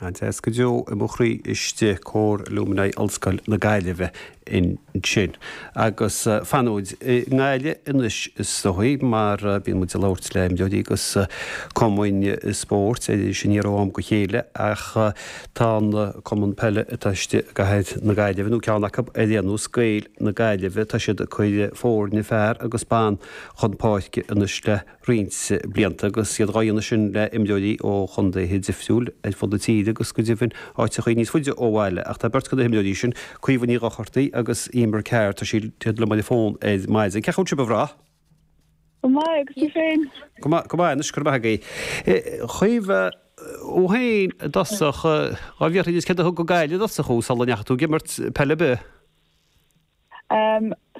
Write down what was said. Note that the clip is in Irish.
An-deas go deo i mo chroí istigh, Cór Alumni Ollscoil na Gaillimhe ansin. Agus fanfaimid i nGaillimh anois is dóigh mar bíonn muid ag labhairt le imreoirí agus cumainn spóirt ar Iris Aniar ó am go chéile ach tá an cumann peile atá istigh i gcathair na Gaillimhe, nó ceann acu ar aon nós, Gaeil na Gaillimhe, tá siad ag cur foirne fear agus ban chun páirce anois le roinnt blianta agus iad dhá dhéanamh sin le imreoirí ó chontaetha difriúil ar fud na tíre agus go deimhin áiteachaí níos faide ó bhaile. Ach tá beirt de na himreoirí sin, Caoimhe Ní Dhochartaigh agus Emer Carr, tá siad liom ar an bhfón ar maidin. Cén chaoi a bhfuil sibh a mhná? Go maith, agus tú féin? Go maith, go maith anois, go raibh maith agaibh. Chaoimhe, thú féin i dtosach, dhá bhfiafraí díot céard a thug go Gaillimh i dtosach thú sula ndeachaigh tú ag imirt peile ar bith?